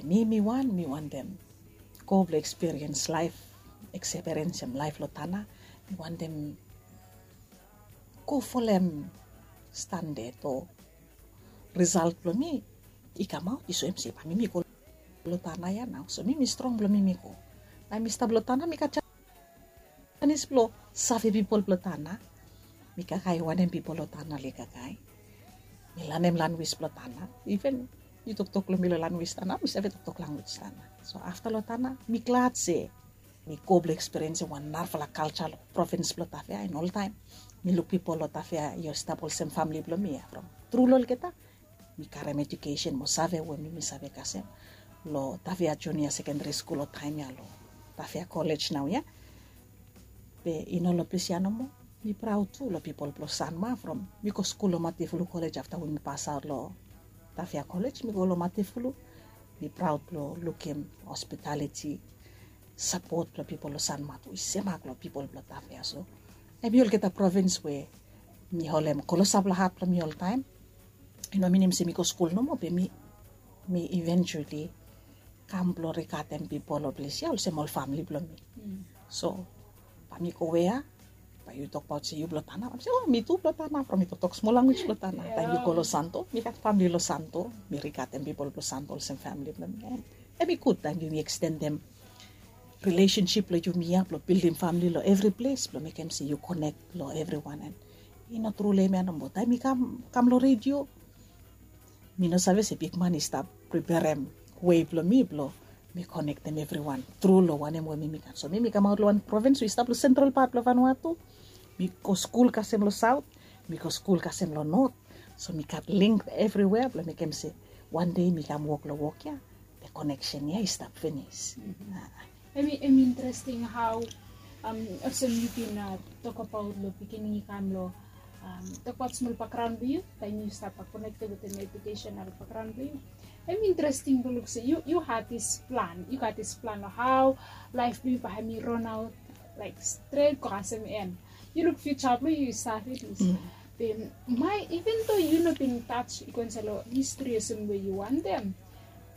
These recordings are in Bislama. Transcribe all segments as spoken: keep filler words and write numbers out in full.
Mi, mi wan, mi wantem go blong ekspiriens laef, ekspiriensim laef long Tanna. Mi wantem go folem standad o risalt blong mi i kamaot i soem se bae mi, mi go long Tanna ya nao. So mi, mi strong blong mi, mi go. Taem mi stap long Tanna mi gat janis blong save pipol blong Tanna. Mi kakae wanem pipol long Tanna oli kakae. Mi lanem lanwis blong Tanna. Iven yu toktok long mi long lanwis Tanna, mi save toktok lanwis Tanna. So afta long Tanna mi glad se mi go blong ekspiriensim wan narafala kalja long provins blong Tafea. An oltaem mi luk pipol long Tafea i stap olsem famle blong mi ya. From tru long olgeta mi karem ejukesen mo save we mi, mi save kasem long Tafea Junia Sekendari Skul long taem ya, long Tafea Kolej nao ya. Be i no long ples ya nomo. Mi praod tu long pipol blong Sanma from mi go skul long Matefulu Kolej afta we mi pasaot long Tafea Kolej, mi go long Matefulu. Mi praod blong lukim hospitaliti, sapot blong pipol long Sanma tu i semak long pipol blong Tafea. So hemi olgeta provins we mi holem klosap long hat blong mi oltaem. I no minim se mi go skul nomo, be mi, mi eventually kam blong rigatem pipol long ples ya olsem ol famle blong mi. So bae mi go wea, bae yu tokbaot se yu blong Tanna, bae mi se, o, mi tu blong Tanna, from mi toktok smol lanwis blong Tanna. Taem yu go long Santo, mi gat famle long Santo, mi rigatem pipol blong Santo olsem famle blong mi. An hemi gud taem yumi ekstendem rilesensip blong yumi ya blong bildim famle long evri ples blong mekem se yu konek long evriwan. An i no tru long hemia nomo, taem mi kam, kam long redio, mi no save se bigman i stap preperem wei blong mi blong mi konektem evriwan tru long wanem we mi, mi gat. So mi, mi kamaot long wan provins we i stap long sentral pat blong Vanuatu. Mi go skul kasem long saot, mi go skul kasem long not. So mi gat link evriwea blong mekem se wan dei mi kam wok long wok ya, the connection ya i stap finis. Hemi, hemi interesting hao, um, olsem yu bin, uh, tokbaot long pikinini kam long, um, tokbaot smol bakgraon blong yu taem yu stap konekted wetem ejukesen long bakgraon blong yu. Hemi interesting blong luk se yu, yu gat dis plan, yu gat dis plan long hao laef blong yu bae hemi ron aot laek stret go kasem en. Yu luk fiuja blong yu, yu save dis. Be mae, even though yu no bin taj i go insaed long histri olsem we yu wantem,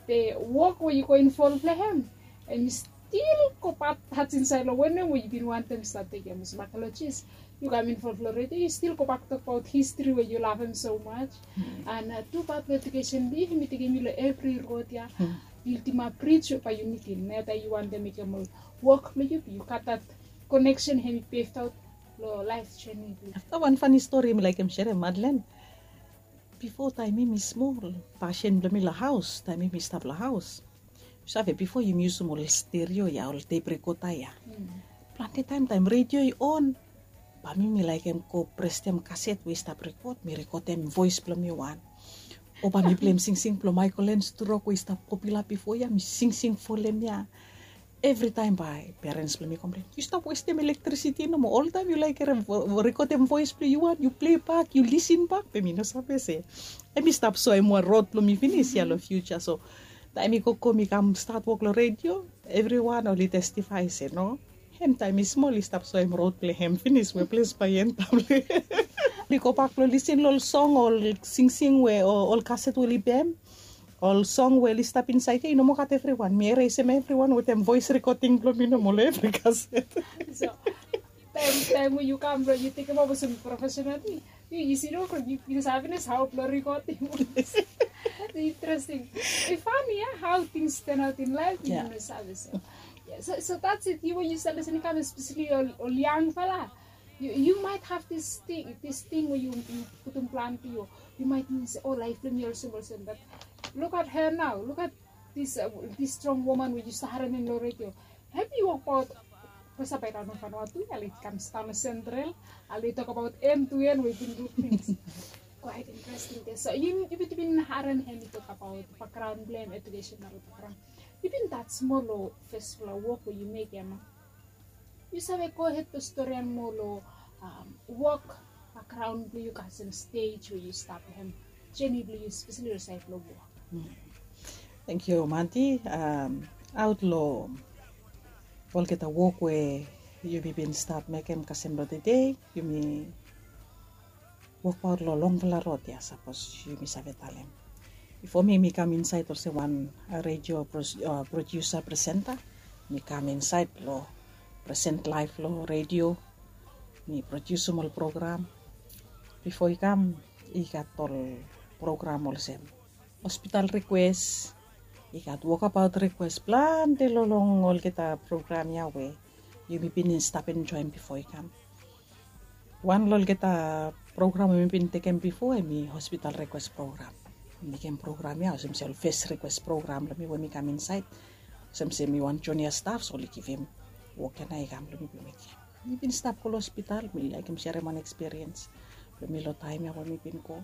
be wok we yu go involv long hem, hemi stil go bak taj insaed long wanem we yu bin wantem stap tekem olsem akeolojis. Yu kam involv long redio, yu stil gobak tokbaot histri we yu lavem so much. An, uh, tu pat long ejukesen blong yu, hemi tekem yu long evri rod ya. Bildimap brij we bae yu nidim, nao taem yu wantem mekem ol wok blong yu, be yu gat that connection hemi peved aot long laef jeni blong yu. Afta wan fani stori mi laekem serem, Madlen. Bifo taem mi, mi smol, pasin blong mi long haos, taem mi, mi stap long haos. Yu save, bifo yumi yusum ol stereo ya, ol tep rekota ya. Plante taem, taem redio i on, bae mi, mi laekem go presem kaset we i stap rekod, mi rekodem voes blong mi wan. O bae mi pleim singsing blong Michael Learns to Rock we i stap popula bifo ya, mi singsing folem ya. Evritaem bae perens blong mi komplen, yu stap westem elektrisiti nomo, oltaem yu laekem rekodem voes blong yu wan, yu plei bak, yu lisin bak. Be mi no save se hemi stap soem wan rod blong mi finis ya long fiuja. So taem mi gogo mi kam stat wok long redio, evriwan oli testifae se no, hem taem i smol i stap soem rod blong hem finis we ples bae i antap long hem. Oli gobak blong lisin long ol song, ol singsing we, o ol kaset we oli bem, ol song we oli stap insaed ya, i no moa gat evriwan. Mi eresem evriwan wetem voes rekoding blong mi nomo long evri kaset. So taem, taem we yu kam blong yu tekemaot olsem profesenal ting, yu, yu sidon from yu, yu save pinis hao blong rekoding. Interesting. I fani ya hao tings turn out in life, yu no save. So yeah, so, so that's it. Yu we yu stap lisin i kam, especially ol, ol yangfala, yu, yu might have this thing, this thing we yu, yu putum plan blong yu. Yu might ting se, o, laef blong mi olsem, olsem, but look at her now. Look at this, uh, this strong woman we yu stap harem hem long redio. Hemi wokbaot, pasapaikan of Vanuatu ya, oli kam stap long sentral, oli tokbaot hem tu hem we i bin du tings. Quite interesting. So yu, yu bin, yu bin harem hemi tokbaot bakgraon blong hem, ejukesen bakgraon. Yu bin stat smol long fesfala wok we yu mekem. Yu save gohed blong storian moa long, um, wok, bakgraon blong yu kasem stej we yu stap long hem, jeni blong yu, espeseli long saed blong wok. Tangkiu Manti. Um, aot long olgeta wok we yumi bin stap mekem kasem blong tede, yumi wokbaot long longfala rod ya, sapos yumi save talem. Bifo mi mi kam insaed olsem wan redio produsa presenta, mi kam insaed long present laef long redio. Mi produsim ol program. Bifo i kam i gat ol program olsem hospital rikwes, i gat wokabaot rikwes, plante long long olgeta program ya we yumi bin stap enjoem bifo i kam. Wan long olgeta program we mi bin tekem bifo em i hospital rikwes program. Mi mekem program ya olsem se ol fes rikwes program long mi we mi kam insaed, olsem se mi wan junia staf, so oli givim wok ya nao i kam long mi blong mekem. Mi bin stap go long hospital, mi laekem serem wan ekspiriens blong mi long taem ya we mi bin go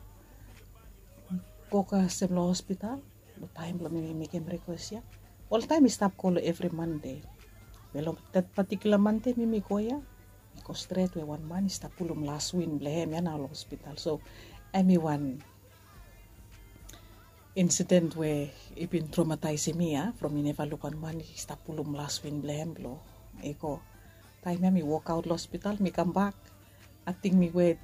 go kasem long hospital. Long taem blong mi mekem rikwes ya, oltaem mi stap go long evri Mande. Be long that patikula Mande mi mi go ya, mi go stret we wan man i stap pulum las win blong hem ya nao long hospital. So em i wan insiden we i bin tromataesim mi ya from mi neva luk wan man i stap pulum las win blong hem blong i go. Taem ya mi wokaot long hospital, mi kambak, ating mi wet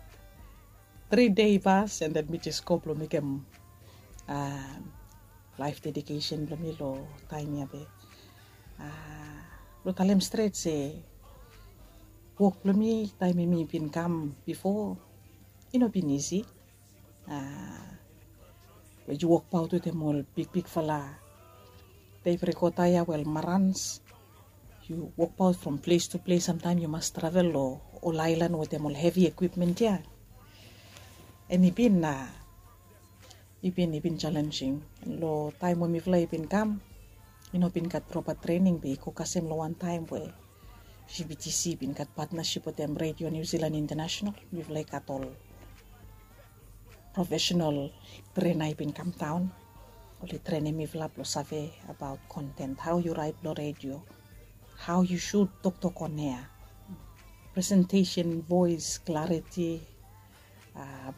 tri dei bas, and then mi jes go blong mekem laef dedikesen blong mi long taem ya be blong talem stret se wok blong mi taem ya mi bin kam bifo i no bin isi. We yu wokbaot wetem ol bigbigfala tep rekota ya we ol marans, yu wokbaot from ples tu ples, samtaem yu mas travel long ol aelan wetem ol hevi ekwipmen ya. Em i bin na i bin i bin jalenjing. Long taem we mifala i bin kam, i no bin gat propa trening be i go kasem long wan taem we GBTC i bin gat patnasip wetem Radio New Zealand International. Mifala i gat ol profesenal trena i bin kamdaon. Oli trenem mifala blong save abaot konten, hao yu raet long redio, hao yu sud toktok on ea, presentesen, voes klariti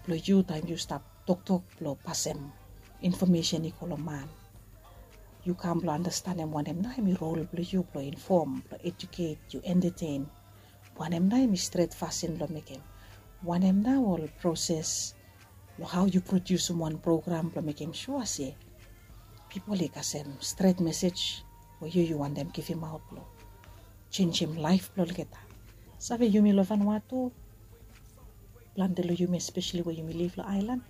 blong yu taem yu stap toktok blong pasem infomesen i go long man. Yu kam blong andastanem wanem nao em i rol blong yu blong infom, blong ejuket, yu entetein. Wanem nao em i stret fasin blong mekem? Wanem nao ol proses long hao yu prodiusim wan program blong mekem sua se pipol i kasem stret mesej we yu yu wantem givimaot blong jenjem laef blong olgeta? Save, yumi long Vanuatu, plante long yumi, espeseli we yumi liv long aelan,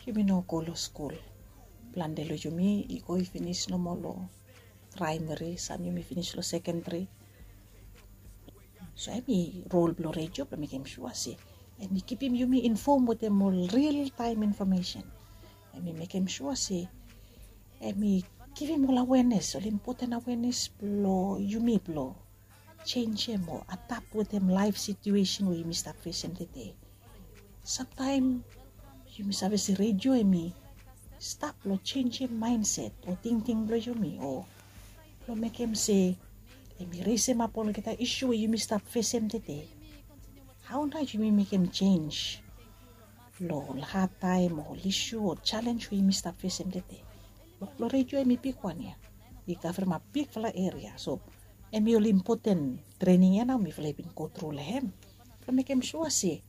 yumi no go long skul. Plante long yumi i go i finis nomo long praemeri, sam yumi finis long sekenderi. So em i rol blong redio blong mekem sua se em i kipim yumi infom wetem ol ril taem infomesen. Em i mekem sua se em i givim ol awenes, ol impoten awenes blong yumi blong jenjem o adap wetem laef situesen we yumi stap fesem tede. Samtaem yumi save se redio em i stap long jenjem maenset o tingting blong yumi o blong mekem se em i resemap olgeta isu we yumi stap fesem tede. Hao nao yumi mekem jenj long ol hadtaem o ol isu o jalenj we yumi stap fesem tede? Wok blong redio em i bigwan ya, i kavremap bigfala eria. So em i ol impoten trening ya nao mifala i bin go tru long hem blong mekem sua se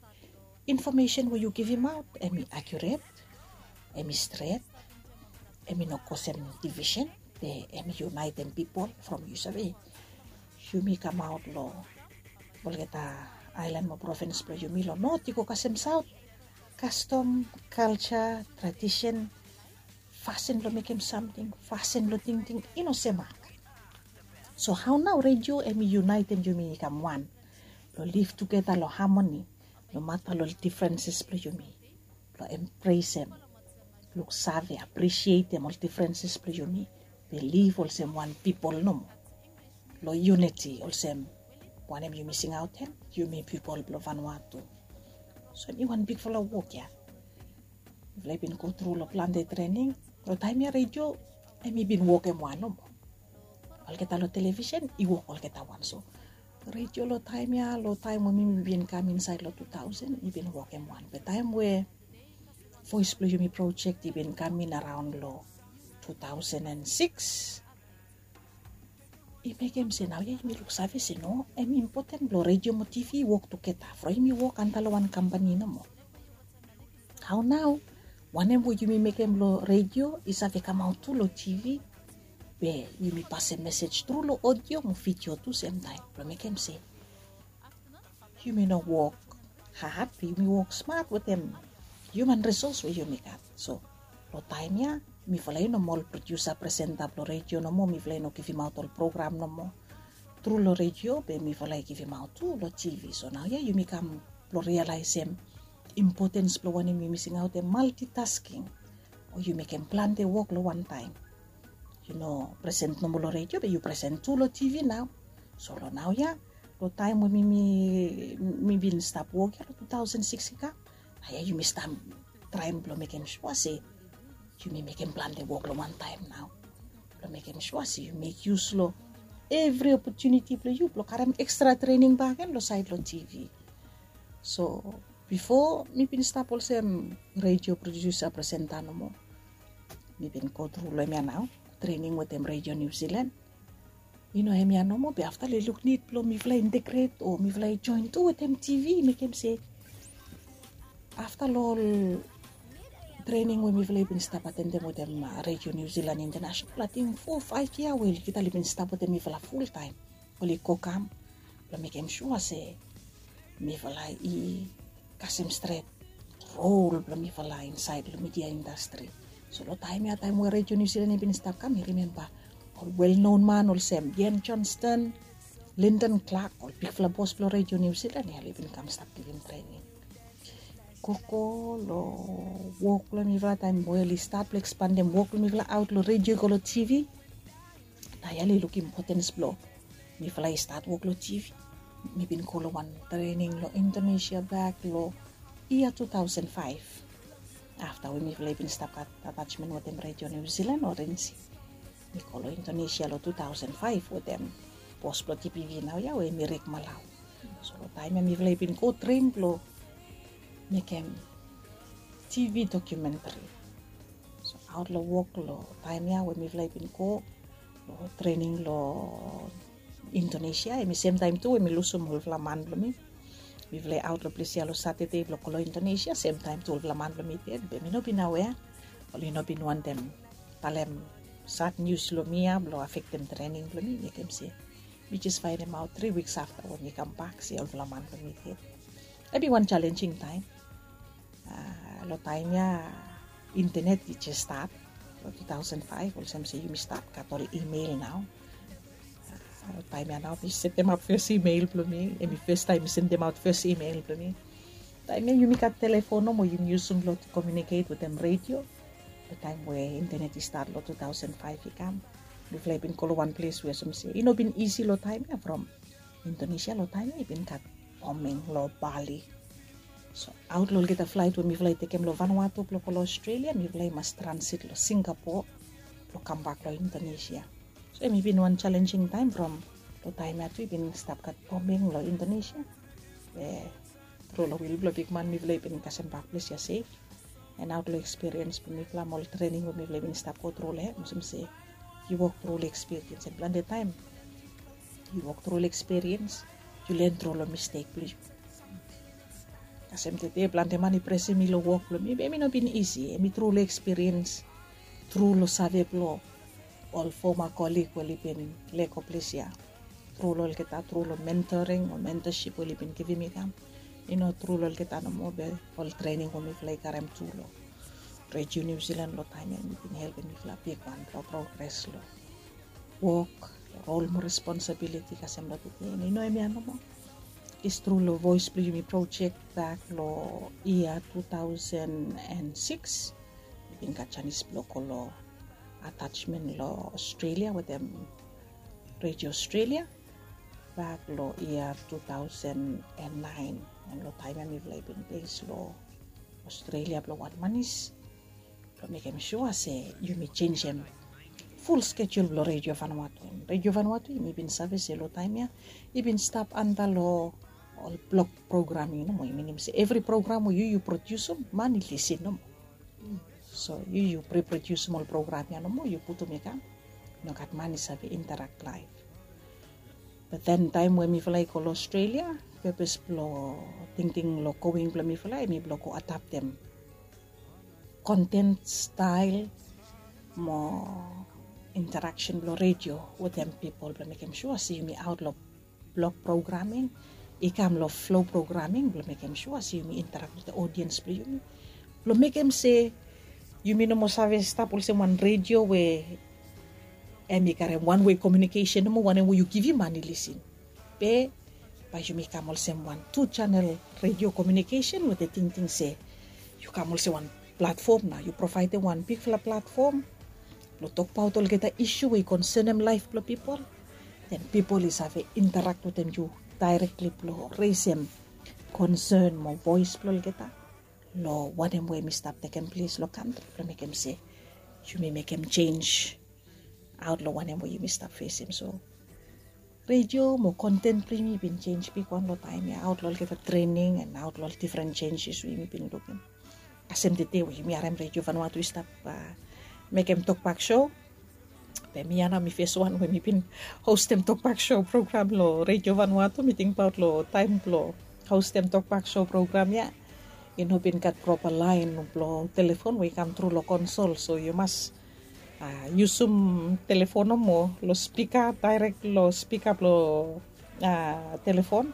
infomesen we yu givimaot em i akiuret, em i stret, em i no kosem divisen, be em i yunaetem pipol. From yu save yumi kamaot long olgeta aelan mo provins blong yumi long not i go kasem saot, kastom, kalja, tradisen, fasin blong mekem samting, fasin blong tingting i no semak. So hao nao redio em i yunaetem yumi i kam wan blong liv tugeta long hamoni nomata long ol difrenses blong yumi, blong embresem, luksave, apresietem ol difrenses blong yumi, be liv olsem wan pipol nomo long yuniti olsem wanem yumi singaot hem, yumi pipol blong Vanuatu. So em i wan bigfala wok ya. Mifala i bin go tru long plante trening. Long taem ya redio em i bin wokem wan nomo. Olgeta long televisen i wok olgeta wan. So redio long taem ya, long taem we mi mi bin kam insaed long tu taosen, i bin wokem wan. Be taem we Voes blong Yumi projek i bin kam in araon long tu taosen and sikis, i mekem se naoia yumi luksave se no, em i impoten blong redio mo tivi i wok tugeta from yumi wok antap long wan kampani nomo. Hao nao Wanem we yumi mekem long redio i save kamaot tu long T V, be yumi pasem mesej tru long odio mo vidio tu semtaem blong mekem se yumi no wok had, be yumi wok smat wetem hiuman risos we yumi gat. So long taem ya mifala i no moa ol produsa presenta blong redio nomo, mifala i no givimaot ol program nomo tru long redio, be mifala i givimaot tu long T V. So naoia yumi kam blong rialaesem impotens blong wanem yumi singaotem maltitasking, o yu mekem plante wok long wantaem. Yu no presen nomo long redio, be yu presen tu long T V nao. So long naoia, long taem we mi, mi, mi bin stap wok ya long two thousand six i kam, naoia yumi stap traem blong mekem sua se yumi mekem plante wok long wantaem nao, blong mekem sua se yu mek yus long evri opotuniti blong yu blong karem ekstra trening bakegen long saed long T V. So bifo mi bin stap olsem redio produsa presenta nomo, mi bin go tru long hemia nao, trening wetem redio New Zealand. I no hemia nomo, be afta long i luk nid blong mifala i integret o mifala i joen tu wetem T V, i mekem se afta long ol trening we mifala i bin stap atendem wetem redio New Zealand International, ating fo faef yia we olgeta oli bin stap wetem mifala fultaem, oli go kam blong mekem sua se mifala i kasem stret rol blong mifala insaed long midia indastri. So long taem ya, taem we redio New Zealand i bin stap kam, mi rimemba ol welnon man olsem Ian Johnston, Lyndon Clark, ol bigfala bos blong redio New Zealand ya oli bin kam stap givim trening. Gogo long wok blong mifala taem we oli stat blong ekspandem wok blong mifala aot long redio i go long T V. Naoia oli luk impotens blong mifala i stat wok long T V. Mi bin go long wan trening long Indonesia bak long yia two thousand five. Afta we mifala i bin stap gat atasmen wetem redio New Zealand o RNZ, mi go long Indonesia long two thousand five wetem bos blong T P V naoia we hemi Rick Malau. So long taem ya mifala i bin go tren blong mekem T V dokumentri. So aot long wok long taem ya we mifala i bin go long trening long Indonesia, hemi semtaem tu we mi lusum olfala man blong mi. Mifala i aot long ples ya long Satade blong go long Indonesia, semtaem tu olfala man blong mi ded, be mi no bin awea. Oli no bin wantem talem sad nius long mi ya blong afektem trening blong mi, mekem se mi jes faenemaot tri wiks afta we mi kambak se olfala man blong mi ded. Hemi wan jalenjing taem. Long taem ya intenet i jes stat long two thousand five, olsem se yumi stat gat ol email nao. Long taem ya nao mi setemap fes email blong mi, hemi fes taem mi sendemaot fes email blong mi. Taem ya yumi gat telefon nomo yumi yusum blong komiuniket wetem redio. Long taem we intenet i stat long two thousand five i kam, mifala i bin go long wan ples we olsem se i no bin isi long taem ya from Indonesia long taem ya i bin gat boming long Bali. So aot long olgeta flaet we mifala i tekem long Vanuatu blong go long Australia, mifala i mas transit long Singapore blong kambak long Indonesia. So hemi bin wan jalenjing taem from long taem ya tu i bin stap gat boming long Indonesia. Be tru long wil blong bigman mifala i bin kasem bak ples ya sef. And aot long ekspiriens blong mifala mo ol trening we mifala i bin stap go tru long hem, olsem se yu wok tru long ekspiriens, and plante taem yu wok tru long ekspiriens, yu len tru long mistek blong yu. Kasem tede plante man i presem mi long wok blong mi, be hemi no bin isi. Hemi tru long ekspiriens, tru long save blong ol foma kolig we oli bin lego ples ya. Tru long olgeta, tru long mentoring o mentorship we oli bin givim mi kam. I no tru long olgeta nomo, be ol trening we mifala i karem tu long redio New Zealand long taem ya, hemi bin helpem mifala bigwan blong progres long wok, long rol mo responsabiliti kasem long tede. And i no hemia nomo, i tru long Voes blong Yumi projek bak long yia two thousand and six. Mi bin gat janis blong go long atasmen long Australia wetem redio Australia bak long yia two thousand and nine. And long taem ya mifala i bin bes long Australia blong wan manis blong mekem sua se yumi jenisim ful skejul blong redio Vanuatu. Redio Vanuatu yumi bin save se long taem ya i bin stap anta long ol blok programing nomo, i minim se evri program we yu yu produsim man i lisin nomo. So yu yu pre produsim ol program ya nomo, yu putum i kam, nogat man i save interak laef. Be then taem we mifala i go long Australia, pepes blong tingting long going blong mifala hemi blong go adaptem konten stael mo interaksen blong redio wetem pipol blong mekem sua se yumi aot long blok programing i kam long flo programing blong mekem sua se yumi interak wetem odiens blong yumi blong mekem se yumi no moa save stap olsem wan redio we em i karem wan wei komiunikesen nomo wanem we yu givim man i lisin. Be bae yumi kam olsem wan tu janel redio komiunikesen wetem tingting se yu kam olsem wan platfom nao yu provaedem wan bigfala platfom blong tokbaot olgeta isu we i konsenem laef blong pipol. Den pipol i save interak wetem yu daerekli blong resem konsen mo voes blong olgeta long wanem we yumi stap tekem ples long kantri blong mekem se yumi mekem jenj aot long wanem we yumi stap fesem so redio mo konten blong yumi i bin jenj bigwan long taem ya aot long olgeta trening en aot long ol difren jenjes we yumi bin lukim. Kasem tede we yumi harem redio vanua tu i stap mekem tokbak so. Be mi ya nao mi fes wan we mi bin hostem tokbak so program long redio vanua tu mi tingbaot long taem blong hostem tokbak so program ya i no bin gat propa laen blong telefon we i kam tru long konsol so yu mas yusum telefon nomo long spika daerek long spika blong telefon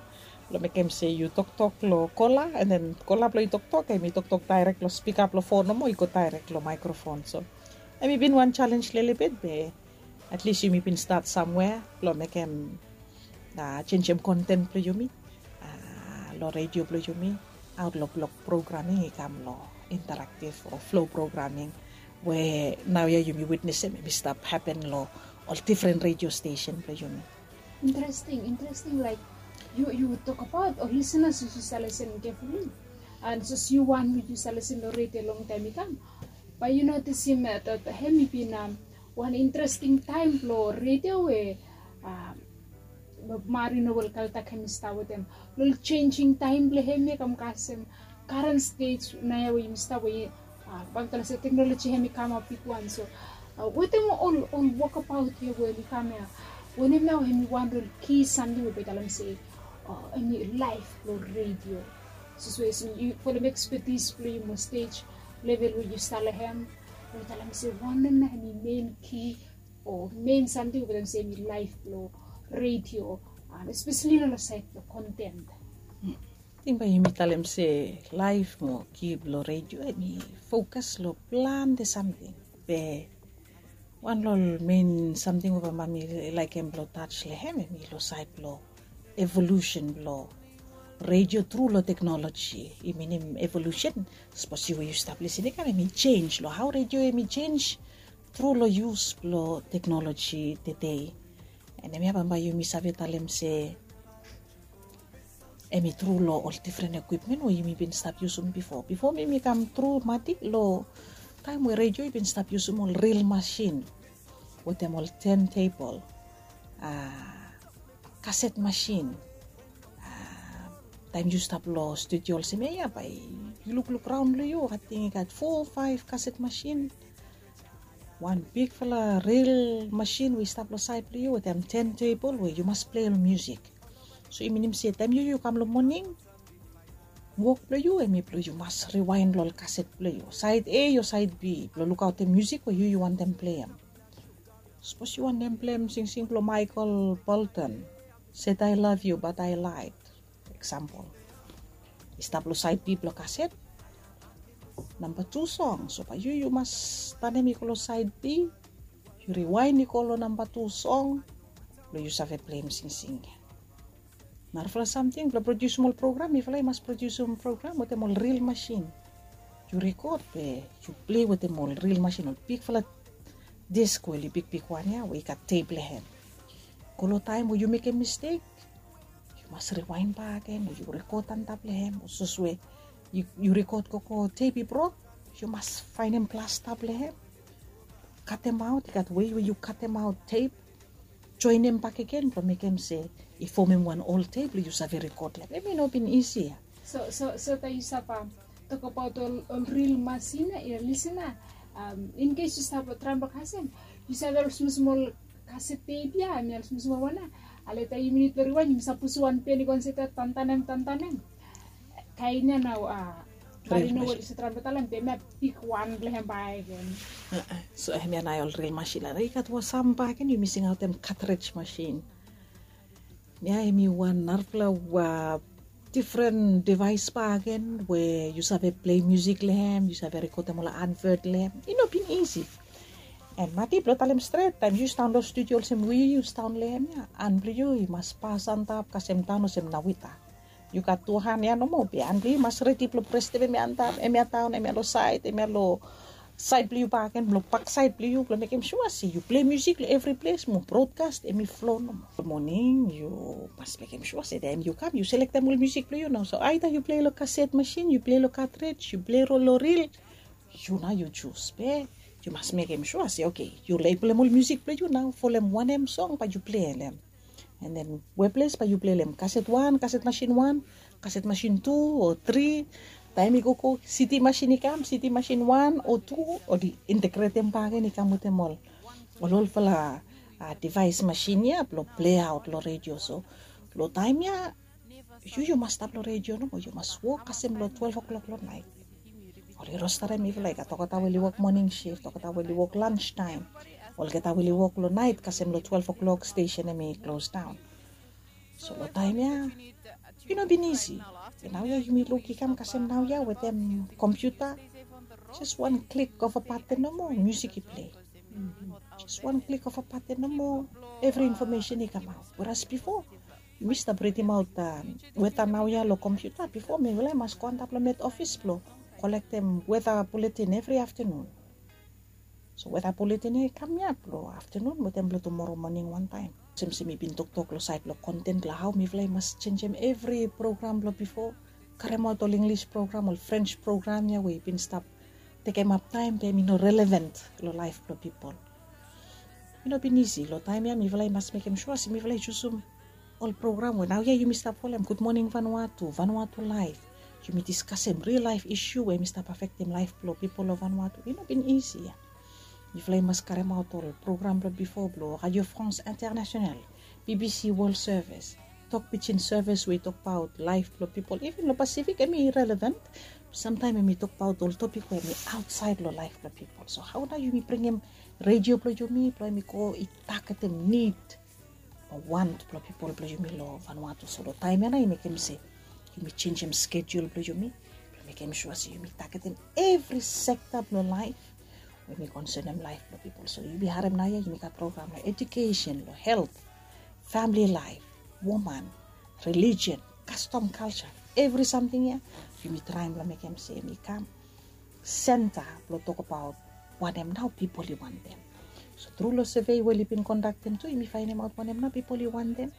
blong mekem se yu toktok long kola en den kola blong yu toktok em i toktok daerek long spika blong fon nomo i go daerek long maikrofon so em i bin wan jalenj lelebet be at least yumi bin stat samwea blong mekem jenjem konten blong yumi long redio blong yumi aot long blok programing i kam long interaktiv o flo programing we naoia yumi witnesem em i stap hapen long ol difren redio stesen blong yumi. Interesting, interesting. Like you, you talk about or listeners you shall listen carefully, and so you want me you shall listen already a long time ago. But you notice him uh, that him been um, one interesting time lo radio we uh, Marino will kaltak him star with them. Little changing time le him come custom current stage na ya we him star we uh, bang tala se technology him come up big one so uh, with them all all walk about here we him come here. When him now him one real key something we better let me say uh, any life lo radio. So so is you for the expertise play mo stage level we you start him. We tell him say one na him main key or main something we tell him say him life lo radio. And especially on the side of content. Ting bae yumi talem se laef mo kib long redio em i fokas long plante samting be wan long ol mein samting we bambae mi laekem blong taj long hem em i long saed blong evolusen blong redio tru long teknoloji. I minim evolusen sapos yu we yu stap lisin i kam em i jenj long hao redio em i jenj tru long yus blong teknoloji tedei. Em ya bambae yumi save talem se em i tru long ol difren ekwipmen we yumi bin stap yusum bifo bifo mi mi kam tru mati long taem we redio i bin stap yusum ol ril masin wetem ol tentebol, kaset masin. Taem yu stap long studio olsem ya ya bae yu lukluk raon long yu ating i gat fo faef kaset masin. Wan bigfala ril masin we i stap long saed blong yu wetem tentebol we yu mas plei ol musik. So i minim se taem yu yu kam long moning wok blong yu em i blong yu mas riwaen long ol kaset blong yu saed a o saed b blong lukaotem musik we yu yu wantem pleim. Sapos yu wantem pleim singsing blong michael bolton, set I love you but I lied. Eksampol i stap long saed b blong kaset namba tu song so bae yu yu mas tanem i go long saed b yu riwaen i go long namba tu song blong yu save pleim singsing ya. Narafala samting blong prodiusim ol program mifala i mas prodiusim program wetem ol ril masin. Yu rekod be yu plei wetem ol ril masin ol bigfala disk we oli bigbig wan ya we i gat tep long hem. Go long taem we yu mekem mistek yu mas riwaen bak gen o yu rekod antap long hem o sos we yu rekod gogo tep i brok yu mas faenem plastap long hem. Katemaot i gat wei we yu katemaot tep joenem bakegen blong mekem se i fomem wan ol tep blong yu save rekod long hem em i no bin isi ya. So so so ta yu sapa tokabaot ol ril masina ya lisina. Inkes yu sapa traem blong kasem yu save ol smol smol kaset tep ya em ya ol smol smol wan ya. Aleta yu minit blong riwan yu sapa pusu wan pen i go anseta tantanem tantanem. Kaen ya nao a Mari no weli se traem blong talem be hemia bigwan blong hem bakegen. So hemia nao ol ril masin. I gat wan sam bakegen yumi singaotem cartridge masin. Hemia hemi wan narafala difren devaes bakegen we yu save plei musik long hem, yu save rekodem ol advert long hem. I no bin isi. An mati blong talem stret, taem yu sidaon long studio olsem we yu sidaon long hem ya, han blong yu i mas pas antap kasem daon olsem nawita. Yu gat tu han ya nomo be han blong yu i mas redi blong prestem hemia antap, hemia daon, hemia long saed, hemia long saed blong yu bakegen, blong baksaed blong yu, blong mekem sua se yu plei musik long evri ples mo brodkas hemi flo nomo. Long moning yu mas mekem sua se taem yu kam yu selektem ol musik blong yu nao. So aeda yu plei long kaset masin, yu plei long katrej, yu plei long ril, yu nao yu jus be yu mas mekem sua se oke, yu labelem ol musik blong yu nao, folem wanem song bae yu plei long hem. An den we ples bae yu plei long hem, kaset wan, kaset masin wan, kaset masin tu o tri. Taem i gogo CD masin i kam, CD masin wan o tu, oli integretem bakegen i kam wetem ol, ol olfala devaes masin ya blong pleaot long redio. So long taem ya yu yu mas stap long redio nomo, yu mas wok kasem long twelef o'klok long naet. Oli rostarem mifala, i gat olgeta we oli wok moning sif, olgeta we oli wok lans taem, olgeta we oli wok long naet kasem long twelef o'klok stesen hemi klos daon. So long taem ya i no bin isi. Be naoia yumi luk i kam kasem naoia wetem kompiuta, jes wan klik of a baten nomo musik i plei. Jes wan klik of a baten nomo evri infomesen i kamaot. Weras bifo yumi stap ridimaot weta naoia long kompiuta. Bifo mifala i mas go antap long met ofis blong kolektem weta buletin evri aftanun. So weta buletin ya i kam ya blong aftanun wetem blong tumoro moning wantaem. Olsem se mi bin toktok long saed blong konten blong hao mifala i mas jenisim evri program blong bifo, karemaot ol Inglis program, ol Frens program ya we i bin stap tekemap taem be hemi no relevan long laef blong pipol. I no bin isi. Long taem ya mifala i mas mekem sua se mifala i jusum ol program we naoia yumi stap folem, Gud Moning Vanuatu, Vanuatu Laef. Yumi diskasem ril laef isu we hemi stap afektem laef blong pipol long Vanuatu. I no bin isi ya. Mifala i mas karemaot ol program blong bifo blong Radio France International, BBC World Service, Tok Pidgin Service we i tokbaot laef blong pipol. Iven long Pasifik hemi relevan. Samtaem hemi tokbaot ol topik we hemi aotsaed long laef blong pipol. So hao nao yumi bringim redio blong yumi blong hemi go i tagetem nid o want blong pipol blong yumi long Vanuatu. So long taem ya nao i mekem se yumi jenisim skejul blong yumi blong mekem sua se yumi tagetem evri sekta blong laef we hemi konsenem laef blong pipol. So yumi harem naoia yumi gat program long ejukesen, long helt, famili laef, woman, relijion, kastom, kalja, evri samting ya yumi traem blong mekem se hemi kam senta blong tokbaot wanem nao pipol i wantem. So tru long sevei we oli bin kondaktem tu yumi faenemaot wanem nao pipol i wantem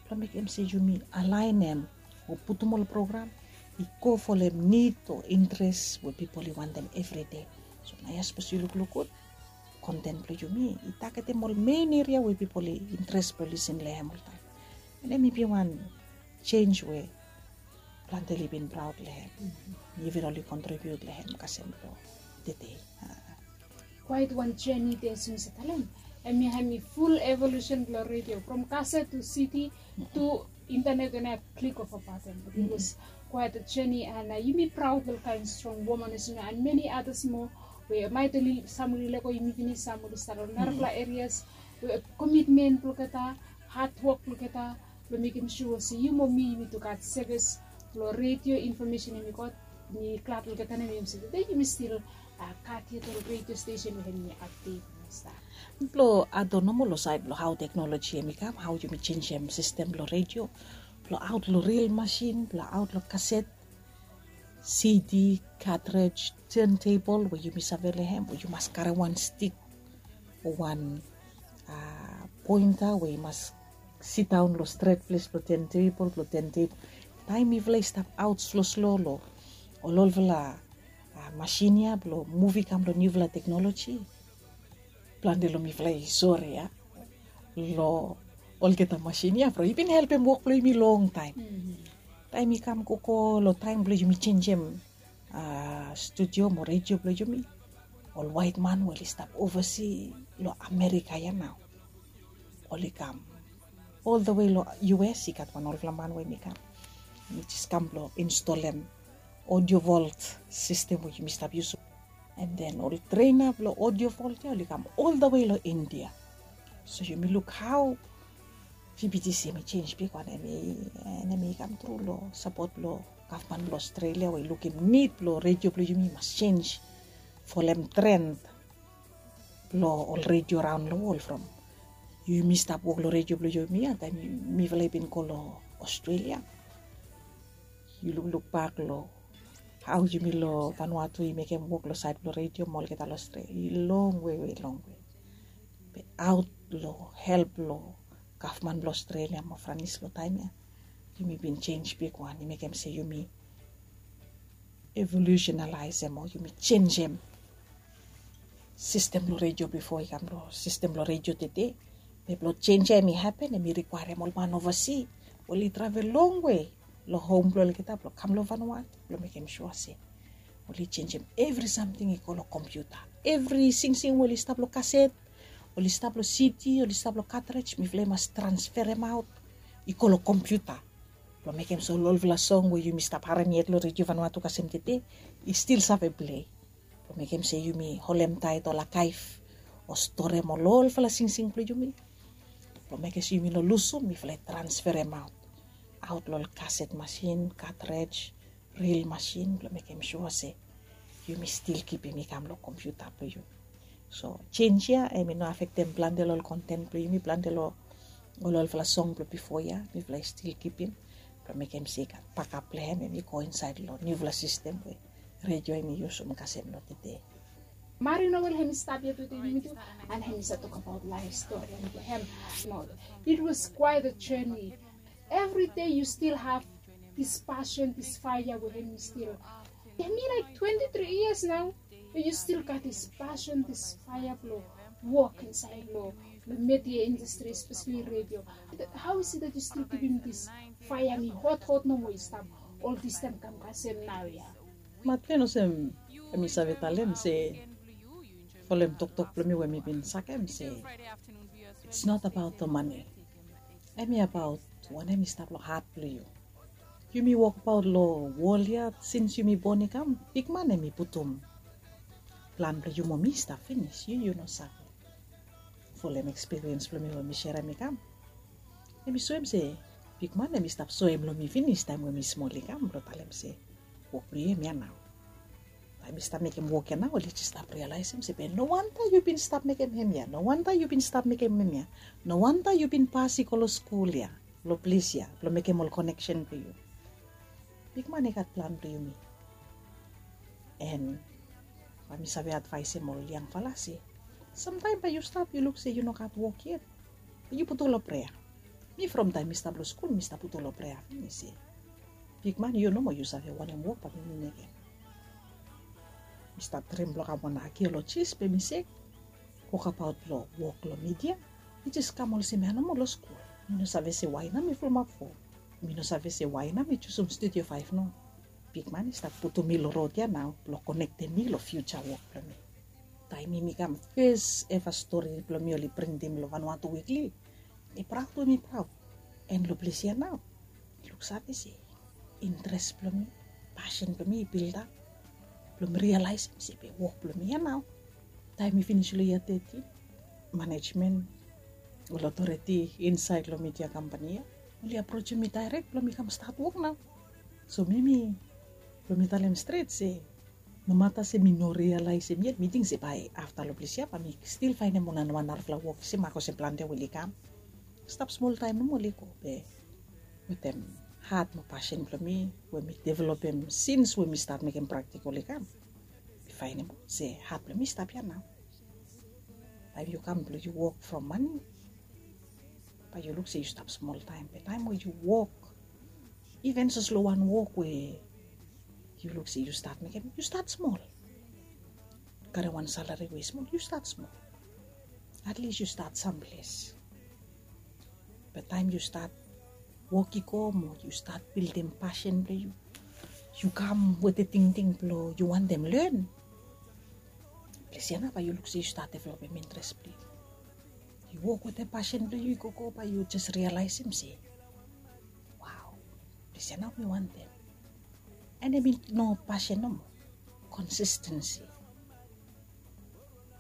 blong mekem se yumi alaenem o putum ol program i go folem nid o interes we pipol i wantem evri dei. So naoia sapos yu lukluk gud, konten blong yumi i tagetem ol men eria we pipol i interes blong lisin long hem oltaem. An hemi bin wan jenj we plante oli bin praod long hem. Mifala oli kontribiut long hem kasem blong tedei. Kwaet wan jeni de olsem mi save talem, hemia hemi ful evolusen blong redio from kaset tu CD tu intanet, and a klik of a baten. Bikos kwaet jeni, and yumi praod long kaen strong woman olsem ya, and many others moa we maet oli, sam oli lego yumi finis, sam oli stap long narafala erias we komitmen blong olgeta, hadwok blong olgeta blong mekem sua se yu mo mi yumi tu gat sevis blong redio infomesen hemi gat, mi glad olgeta nem yumi se tede yumi stil gat yet ol redio stesen we hemi apdet. Blong add on nomo long saed blong hao teknoloji hemi kam, hao yumi jenisim sistem blong redio blong aot long ril masin, blong aot long kaset, CD, katrej, tentebol we yumi save long hem we yu mas karem wan stik o wan pointa we i mas sidaon long stret ples blong tentebol, blong tentebol. Taem mifala i stap aot sloslo long ol olfala masin ya blong muv i kam long niufala teknoloji, plante long mifala i sore ya long olgeta masin ya from i bin helpem wok blong yumi longtaem. Taem i kam gogo long taem blong yumi jenisim studio mo redio blong yumi, ol waet man we oli stap ovasi long Amerika ya nao oli kam oltawe long US. I gat wan olfala man we hemi kam, hemi jes kam blong instolem Audio Vault sistem we yumi stap yusum. And then ol trena blong Audio Vault ya oli kam oldawe long India. So yumi luk hau G B T C em i jenis bigwan, em i kam tru long sapot blong gavman blong Australia we i lukim nid blong redio blong yumi mas jenis folem trend blong ol redio raon long wol from yumi stap wok long redio blong yumi ya taem mifala i bin go long Australia. Yu lukluk bak long hau yumi long Vanuatu i mekem wok long saed blong redio mo olgeta long Australia i longwe we longwe. Be aot long help long gavman blong Australia mo Franis long taem ya yumi bin jenis bigwan i mekem se yumi evolusenalaesem o yumi jenisem sistem blong redio bifo i kam long sistem blong redio tede. Be blong jenis ya em i hapen em i rikwaerem ol man ovasi we oli travel longwe long hom blong olgeta blong kam long Vanuatu blong mekem sua se oli jenisem evri samting i go long kompiuta. Evri singsing we oli stap long kaset, oli stap long siti, oli stap long katrej, mifala i mas transferemaot i go long kompiuta blong mekem se ol olfala song we yumi stap harem yet long redio Vanuatu kasem tede i stil save plei. Blong mekem se yumi holem taet ol akaef o storem ol olfala singsing blong yumi blong mekem se yumi no lusum, mifala i transferemaot aot long ol kaset masin, katrej, ril masin blong mekem sua se yumi stil kipim i kam long kompiuta blong yumi. So jenis ya em i no afektem plante long ol konten blong yumi, plante long ol olfala song blong bifo ya mifala i stil kipim blong mekem se i gat bakap blong hem em i go insaed long niufala sistem we redio em i yusum kasem long tede. Mari Noel hem i stap ya tede wit yumi tu, and hem i save tokabaot laef stori blong hem. It was quite a journey. Every day you still have this passion, this fire we hem i still. Hem i like twenty-three years now, but you still gat this passion, this fire blong wok insaed long media industry, especially radio. How is it that you still givim this fire mi hothot nomo i stap ol this taem kam kasem naoia? Maten olsem em i save talem se folem toktok blong mi we mi bin sakem se it's not about the money. Em i abaot wanem i stap long hat blong yu. Yumi wokbaot long wol ya sins yumi bon i kam, bigman em i putum plan blong yu mo mi i stap finis, yu yu no save. Folem ekspiriens blong mi we mi serem i kam, em i soem se bigman em i stap soem long mi finis taem we mi smol i kam blong talem se wok blong yu em ya nao. Taem mi stap mekem wok ya nao oli jes stap rialaesem se be no wanta yu bin stap mekem hem ya, no wanta yu bin stap mekem hem ya, no wanta yu bin pas i go long skul ya, long ples ya blong mekem ol koneksen blong yu. Bigman i gat plan blong yumi. En bae mi save advaesem ol yangfala se samtaem bae yu stap yu luk se yu no gat wok yet, bae yu putum long prea. Mi from taem mi stap long skul mi stap putum long prea finis se bigman yu nomo yu save wanem wok bae mi mekem. Mi stap drim blong kam wan akiolojis be mi se wokabaot blong wok long midia i jes kam olsem ya nomo long skul. Mi no save se wae nao mi fulumap fo. Mi no save se wae nao mi jusum studio faef no. Bigman i stap putum mi long rod ya nao blong konektem mi long fiuja wok blong mi. Taem mi kam fes eva stori blong mi oli printim long Vanuatu Wikli, mi praod we mi praod. En long ples ya nao mi luksave se interes blong mi, pasin blong mi i bildat blong mi rialaesem se be wok blong mi ya nao. Taem mi finis long yia tetin, manejmen ol otoreti insaed long midia kampani ya oli aprosem mi daerek blong mi kam stat wok nao. So mi mi blong mi talem stret se nomata se mi no rialaesem yet mi ting se bae afta long ples ya bae mi stil faenem wan narafala wok se mak olsem plante we oli kam. Stap smol taem nomo oli go be wetem hat mo pasin blong mi we mi developem sins we mi stat mekem praktikol i kam, mi faenem se hat blong mi stap ya nao. Taem yu kam blong yu wok from mane bae yu luk se yu stap smol taem be taem we yu wok iven soslo wan wok we yu luk se yu stat mekem yu stat smol. Karem wan salari we i smol yu stat smol. Atlis yu stat samples. Be taem yu stat wok i go mo yu stat bildim pasin blong yu, yu kam wetem tingting blong yu wantem len. Ples ya nao bae yu luk se yu stat developem interes blong yu. Yu wok wetem pasin blong yu i gogo bae yu jes rialaesem se wao, ples ya nao mi wantem. And em i no pasin nomo. Konsistensi.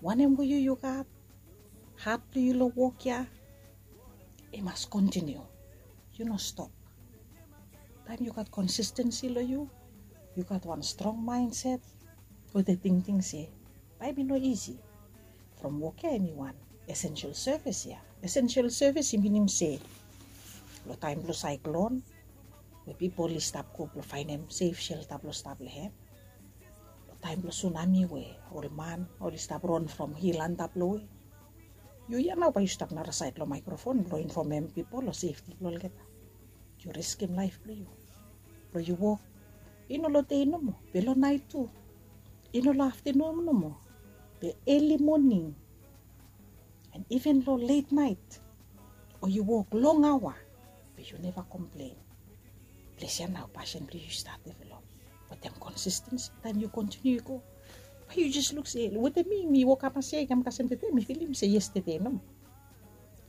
Wanem we yu yu gat, hat blong yu long wok ya, i mas kontiniu. Yu no stop. Taem yu gat konsistensi long yu, yu gat wan strong maenset wetem tingting se bae i no isi. From wok ya em i wan esensel sevis ya. Esensel sevis i minim se long taem blong saeklon we pipol i stap go blong faenem sef shelta blong stap long hem, long taem blong sunami we ol man oli stap ron from hil antap long we yu ya nao bae yu stap narasaed long maekrofon blong infomem pipol long sefti blong olgeta. Yu riskim laef blong yu blong yu wok. I no long dei nomo be long naet tu. I no long aftenun nomo be eli moning. And iven long let naet o yu wok long aoa be yu neva komplen. Ples ya nao pasin blong yu i stat develop. Wetem konsistensi taem yu kontiniu i go, bae yu jes luk se wetem mi mi wokap mas ya i kam kasem tede mi filim se yestede nomo.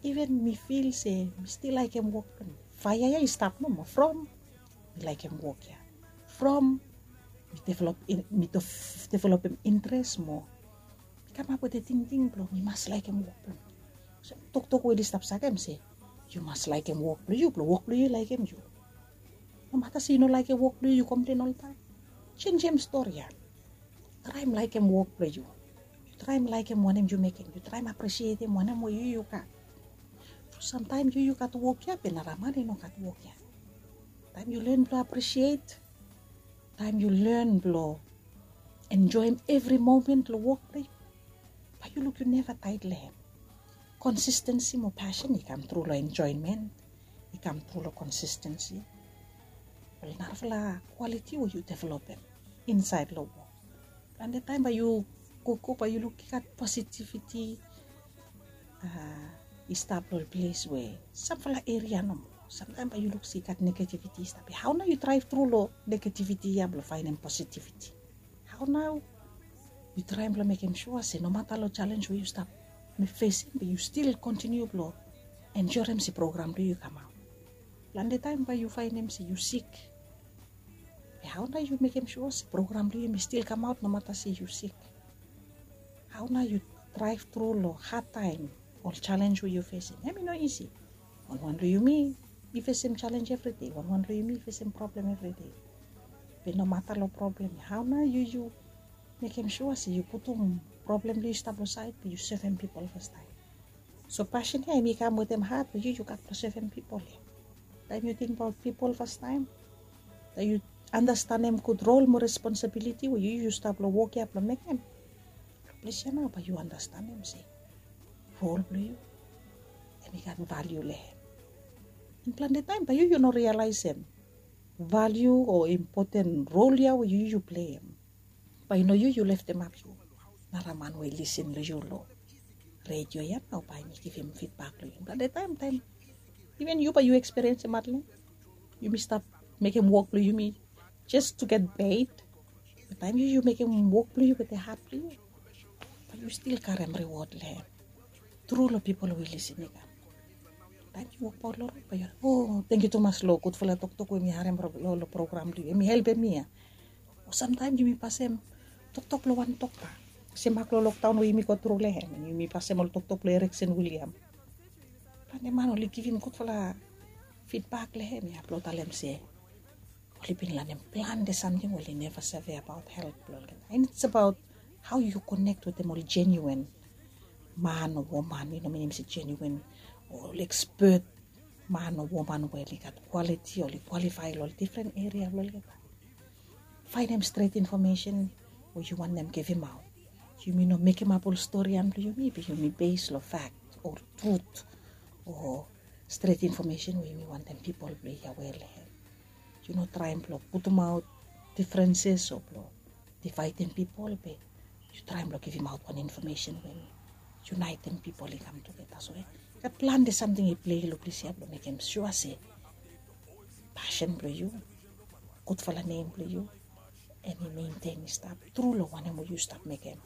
Iven mi fil se mi stil laekem wok blong mi. Faea ya i stap nomo from mi laekem wok ya. From mi developem intres moa, mi kamap wetem tingting blong mi mas laekem wok blong mi. Toktok we oli stap sakem se yu mas laekem wok blong yu blong wok blong yu i laekem yu. Nomata se yu no laekem wok blong yu yu komplen oltaem. Jenjem stori ya. Traem laekem wok blong yu. Yu traem laekem wanem yu mekem, yu traem apresietem wanem we yu yu gat. Samtaem yu yu gat wok ya be nara man i no gat wok ya. Taem yu len blong apresiet, taem yu len blong enjoem evri momen long wok blong yu, bae yu luk yu neva taet long hem. Konsistensi mo pasin i kam tru long enjoemen, i kam tru long konsistensi. Ol narafala kwaliti we yu developem insaed long wok. Plante taem bae yu gogo bae yu luk i gat positiviti i stap long ol ples we samfala eria nomo. Samtaem bae yu luk se i gat negativiti i stap ya, hao nao yu draev tru long negativiti ya blong faenem positiviti? Hao nao yu traem blong mekem sua se nomata long jalenj we yu stap fesim be yu stil kontiniu blong enjorem se program blong yu i kamaot? Plante taem bae yu faenem se yu sik, be hao nao yu mekem sua se program blong yu i stil kamaot nomata se yu sik? Hao nao yu draev tru long hadtaem, ol jalenj we yu fesim? Em i no isi. Wanwan long yumi i fesim jalenj evridei, wanwan long yumi i fesim problem evridei. Be nomata long problem ya, hao nao yu yu mekem sua se yu putum problem blong yu stap long saed be yu sevem pipol fastaem? So pasin ya em i kam wetem hat we yu yu gat blong sevem pipol ya. Taem yu tingbaot pipol fastaem, taem yu andastanem gud rol mo responsabiliti we yu yu stap long wok ya blong mekem, long ples ya nao bae yu andastanem se rol blong yu em i gat valiu long hem. Plante taem bae yu yu no rialaesem valiu o impoten rol ya we yu yu pleim. Bae i no yu yu leftemap yu, nara man we i lisin long yu long redio ya nao bae em i givim fidbak long yu. Plante taem taem iven yu bae yu ekspiriensim hatling. Yumi stap mekem wok blong yumi jes tu get ped. Be taem yu yu mekem wok blong yu wetem hat blong yu, bae yu stil karem riwod long hem tru long pipol we i lisin i kam. Taem yu wokbaot long rod bae yu, o, tangkiu tumas long gudfala toktok we mi harem long program blong yu, em i helpem mi ya. O samtaem yumi pasem toktok blong wan dokta, se mak long lokdaon we yumi go tru long hem, yumi pasem ol toktok blong Ereksen Wiliam. Plante man oli givim gudfala fidbak long hem ya blong talem se oli bin lanem plante samting we oli neva save abaot helt blong olgeta. And it's about hao yu konek wetem ol jeniuen man o woman, i no minim se jeniuen, ol ekspet man o woman we oli gat kwaliti, oli kwalifae long ol difren eria blong olgeta. Faenem stret infomesen we yu wantem givimaot. Yumi no mekemap ol stori ya blong yumi be yumi bes long fakt o trut o stret infomesen we yumi wantem pipol blong hia wel long hem. Yu no traem blong putumaot difrenses o blong divaedem pipol be yu traem blong givimaot wan infomesen we em i yunaetem pipol i kam tugeta. So i gat plante samting i plei long ples ya blong mekem sua se pasin blong yu, gudfala nem blong yu, em i mentenem i stap tru long wanem we yu stap mekem.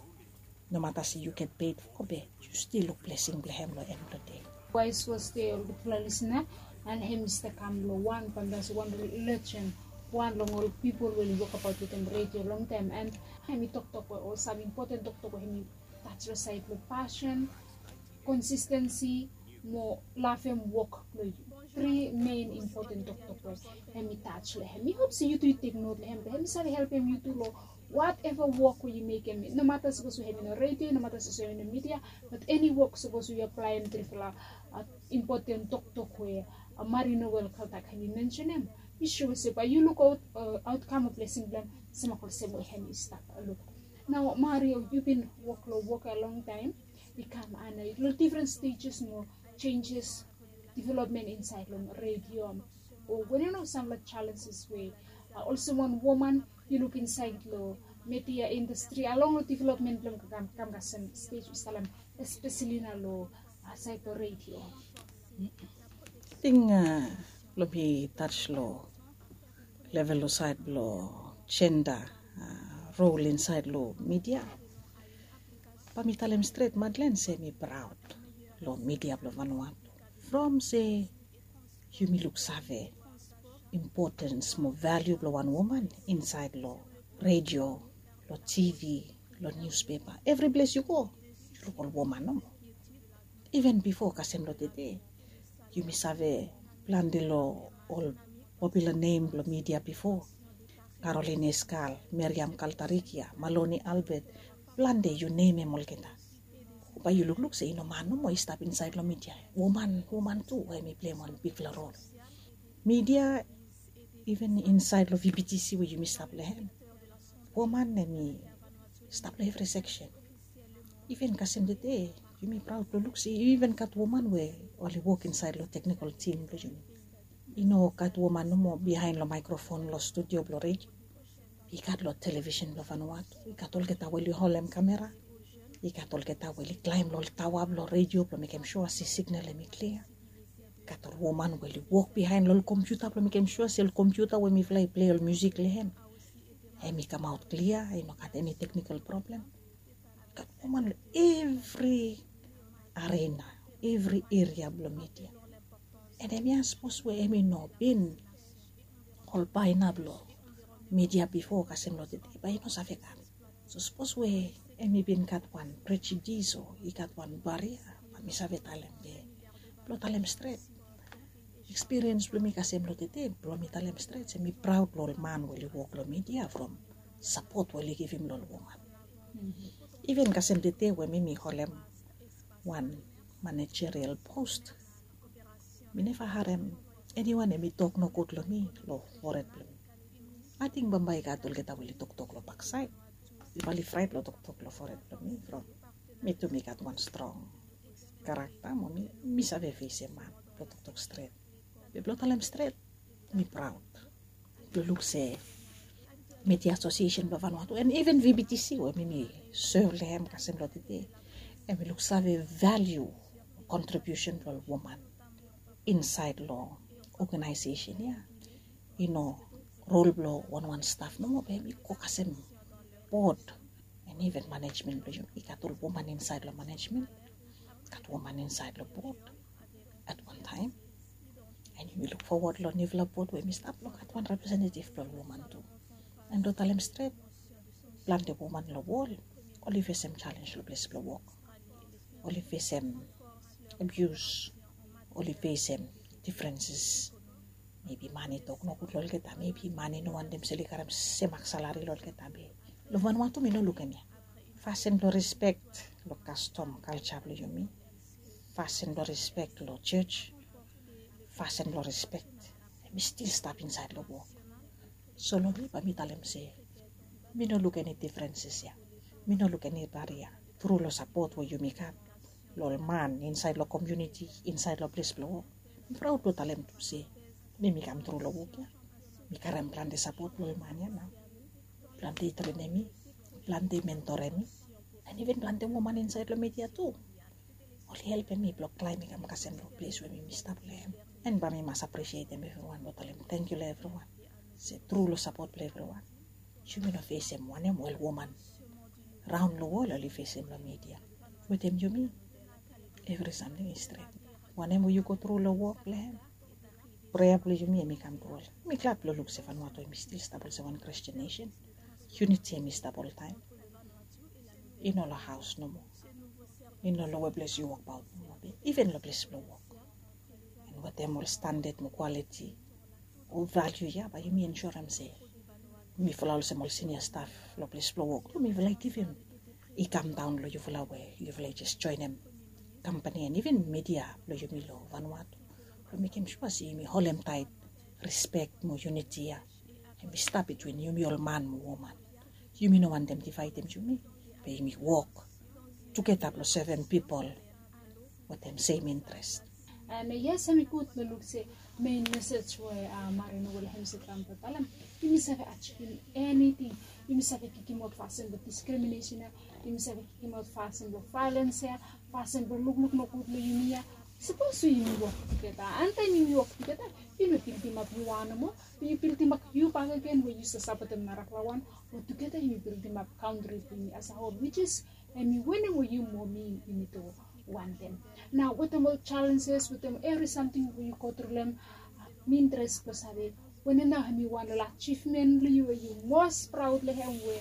Nomata se yu get ped fo be yu stil luk blesing blong hem long en blong dei. Waes was de ol gudfala lisina, and hem i stap kam long wan famdas wan lejen wan long ol pipol we oli wokabaot wetem redio longtaem, and hemi toktok we ol sam impoten toktok we hemi tach long saed blong pasion, konsistensi mo lavem wok blong yu. Tri mein impoten toktok we hemi tach long hem. Mi hop se yu tu yu tek not long hem, blong hemi save helpem yu tu long wateva wok we yu mekem. Nomata sapos we hemi long redio, nomata sapos we hemi long midia, bat eni wok sapos we yu aplaem trifala impoten toktok we Mari Noel Kaltak hemi mensenem, mi sua se bae yu luk aotkam o blesing blong hem semak olsem we hemi stap luk. Nao Mari, yu bin wok long wok ya longtaem, i kam ana long difren stejes mo jenjes, developmen insaed long redio, o wanem nao samfala jalenjes we olsem wan woman yu luk insaed long media indastri along long developmen blong kam kasem stej we yu stap talem, espeseli nao long saed blong redio? Ting blong mi tach long level long saed blong jenda rol insaed long midia, bae mi talem stret, Madlen, se mi praod long midia blong Vanuatu from se yumi luksave impotens mo valiu blong wan woman insaed long redio, long tivi, long niuspepa, evri ples yu go yu luk ol woman nomo. Iven bifo kasem long tede, yumi save plante long ol popula nem blong midia bifo, Karolin Eskal, Meriam Kaltarikia, Maloni Albet, plante, yu nemem olgeta. Bae yu lukluk se i no man nomo i stap insaed long midia. Woman, woman tu we hemi pleim wan bigfala rol. Midia, iven insaed long VBTC we yumi stap long hem, woman hemi stap long evri seksen. Iven kasem tede, yumi praod blong luk se i iven gat woman we oli wok insaed long teknikol tim blong yumi. I no gat woman nomo biaen long maekrofon long studio blong redio. I gat long televisen blong Vanuatu, i gat olgeta we oli holem kamera, i gat olgeta we oli klaem long ol taoa blong redio blong mekem sua se signal hemi klia. I gat ol woman we oli wok biaen long ol kompiuta blong mekem sua se ol kompiuta we mifala i plei ol miusik long hem, hemi kamaot klia, i no gat eni teknikol prablem. I gat woman long evri arena, evri eria blong midia. And hemia sapos we hemi no bin ol baena blong midia bifo kasem long tede, bae i no save gat. So sapos we hemi bin gat wan prejudis o i gat wan baria, bae mi save talem be blong talem stret, ekspiriens blong mi kasem long tede blong mi talem stret se mi praod long ol man we oli wok long midia from sapot we oli givim long ol woman. Iven kasem tede we mi mi holem wan manajerial pos, mi neva harem eniwan hemi tok nogud long mi long fored blong mi. Ating bambae i gat olgeta we oli toktok long baksaed, oli fraet long toktok long fored blong mi from mi tu mi gat wan strong karakta mo mi save fesem man blong toktok stret. Be blong talem stret, mi praod blong luk se Media Asosiesen blong Vanuatu and iven VBTC we mi mi sev long hem kasem long tede, hemi luksave valiu kontribiusen blong ol woman insaed long oganaesesen ya. I no rol blong wanwan staf nomo be hemi go kasem bod and iven manejmen blong yumi. I gat ol woman insaed long manejmen, gat woman insaed long bod at wan taem. And yumi luk fowod long niufala bod we hemi stap blong gat wan representetiv blong ol woman tu. And blong talem stret, plante woman long wol oli fesem jalenj long ples blong wok. Oli fesem abius, oli fesem difrenses. Mebi man i tok nogud long olgeta, mebi man i no wantem se oli karem semak salari long olgeta be long Vanuatu mi no luk hemia. Fasin blong rispek long kastom, kalja blong yumi, fasin blong rispek long jos, fasin blong rispek, hemi stil stap insaed long wok. So long mi bae mi talem se mi no luk eni difrenses ya. Mi no luk eni baria tru long sapot we yumi gat long ol man insaed long komuniti, insaed long ples blong wok. Mi praod blong talem tu se mi mi kam tru long wok ya. Mi karem plante sapot blong ol man ya nao. Plante i trenem mi, plante i mentorem mi, and iven plante woman insaed long media tu. Oli helpem mi blong klaem mi kam kasem long ples we mi mi stap long hem. And bae mi mas apresietem evriwan blong talem tangkiu long evriwan se tru long sapot blong evriwan, yumi no fesem wanem ol woman raon long wol oli fesem long media. Wetem yumi evri samting i stret. Wanem we yu go tru long wok blong hem, Prea blong yumi em i kam tru ol. Mi glad blong luk se Vanuatu em i stil stap olsem wan Christian nation. Uniti em i stap oltaem. I no long haos nomo. I no long we ples yu wokbaot nomo be iven long ples blong wok. An wetem ol standad mo kwaliti o valiu ya bae yumi ensurem se mifala olsem ol sinia staf long ples blong wok tu mifala i givim i kam daon long yufala we yufala i jes joenem kampani an iven midia blong yumi long Vanuatu blong mekem sua se yumi holem taet rispek mo yuniti ya. Em i stap bitwin yumi ol man mo woman. Yumi no wantem divaedem yumi be yumi wok tugeta blong sevem pipol wetem sem intres. An yes, em i gud long luk se mein mesej we Marino Wilhelm se kam blong talem, yumi save ajivim eniting. Yumi save kikimaot fasin blong diskriminesen ya. Yumi save kikimaot fasin blong vaelens ya, fasin blong lukluk nogud long yumi ya. Sapos we yumi wok tugeta, an taem yumi wok tugeta, yu no bildimap yu wan nomo, be yu bildimap yu bakegen we yu save sapotem narafala wan. We tugeta yumi bildimap kantri blong yumi as a hol, which is em i wanem we yu mo mi yumi tu wantem. Nao wetem ol jalenjes, wetem evri samting we yu gotru long hem, mi intres blong save wanem nao em i wan long ajivmen blong yu we yu mos praod long hem we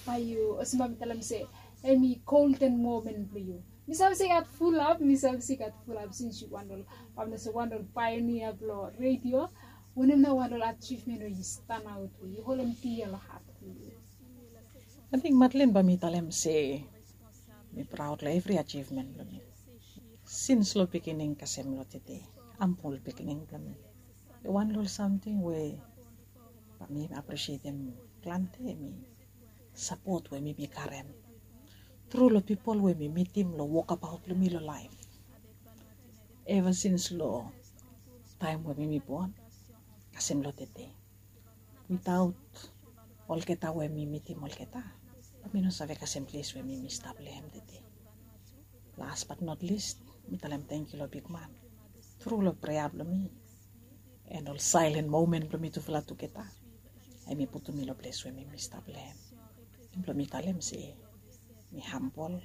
bae yu olsem bae mi talem se em i golden momen blong yu. Mi save se i gat fulap, mi save se i gat fulap sins yu wan long, bae mi no se wan long paionia blong redio. Wanem nao wan long ajivmen we yu stanaot we yu holem dia long hat blong yu? Ating Madlin bae mi talem se mi praod long evri ajivmen blong mi. Sins long beginning kasem long tede, ambul beginning blong mi. Wan long ol samting we bae mi apresietem plante em i sapot we mi bin karem tru long pipol we mi mitim long wokabaot blong mi long laef. Eva sins long taem we mi mi bon kasem long tede. Witaot olgeta we mi mitim olgeta, bae mi no save kasem ples we mi mi stap long hem tede. Las bat not lis, mi talem tangkiu long bigman tru long prea blong mi. An ol saelen momen blong mi tufala tugeta em i putum mi long ples we mi mi stap long hem. Blong mi talem se mi hambol,